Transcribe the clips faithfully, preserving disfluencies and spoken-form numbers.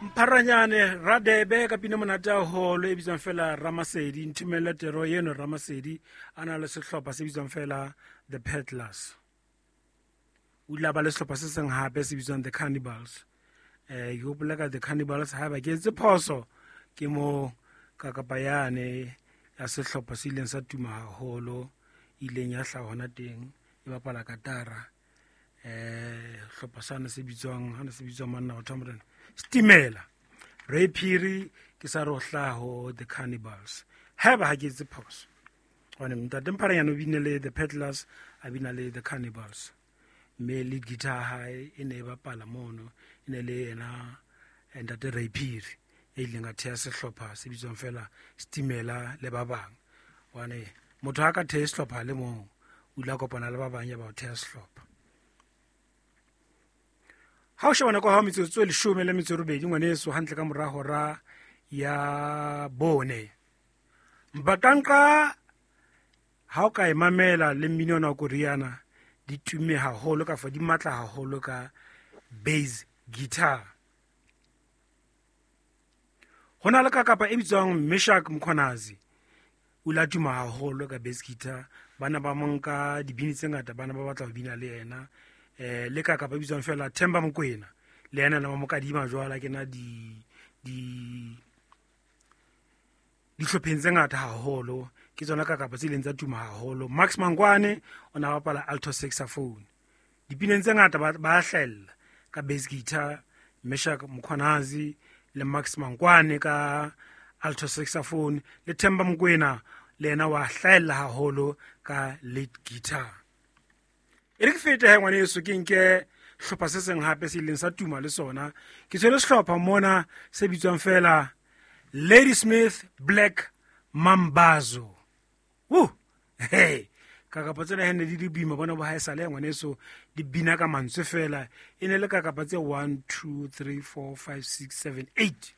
Mpharanyane Radebe ka pina monate haholo e bitswang fela Ramasedi. Nthumelle tero eno Ramasedi a na le sehlopha se bitswang fela The Peddlers. O ile a ba le sehlopha se seng hape se bitswang The Cannibals. Eh ke hopola ka The Cannibals haeba ke etse phoso ke mo ka kapa yane ya sehlopha se ileng sa tuma haholo, ileng ya hlaha hona teng e bapala katara. Eh hlopha sane se bitswang hana se bitswang manna batho ba morena Stimela. Ray Phiri ke sa re o hlaha ho The Cannibals haeba ha ke etse phoso, hobane ntate Mpharanyane o bine le The Peddlers, a bina le The Cannibals, mme lead guitar hae e ne e bapala mono, e ne le yena ntate Ray Phiri e ileng a theha sehlopha se bitswang fela Stimela le ba bang. Hobane motho ha ka thehe sehlopha le mong, o ile a kopana le ba bang ya ba o theha sehlopha. Ha o sheba nako ya hao metsotso e leshome le metso e robedi ngwaneso, hantle ka mora hora ya bone. Mbakanka ha o ka e mamela le mmino ona wa Koreana, di tumme haholo kafa di matla haholo ka bass guitar. Ho na le kakapa e bitswang Meshack Mkhwanazi, o ile a tuma haholo ka bass guitar. Bana ba monka dibini tse ngata, bana ba batla ho bina le yena. Eh le kakapa e bitswang fela Themba Mokoena, le yena na ba mo kadima jwala ke na di di dihlopheng tse ngata haholo. Ke tsona kakapa tse ileng tsa tuma haholo. Max Mangwane o na bapala alto saxophone. Dipineng tse ngata ba ba hlahella ka bass guitar, Meshack Mkhwanazi le Max Mangwane ka alto saxophone, le Themba Mokoena le yena wa hlahella haholo ka lead guitar. E re ke fete he ngwaneso, ke nke hlopha se seng hape se ileng sa tuma le sona. Ke tshwere sehlopha mona se bitswang fela Ladysmith Black Mambazo. Woo! Hey, kakapa tsena he ne di le boima bona bo haesale ngwaneso, di bina ka mantswe fela. E ne le kakapa tse one, two, three, four, five, six, seven, eight.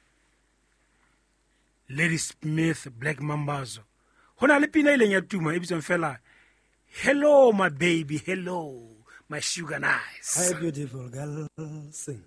Ladysmith Black Mambazo. Ho na le pina e ileng ya tuma e bitswang fela Hello my baby, hello my sugar nice. Hi beautiful girl, sing.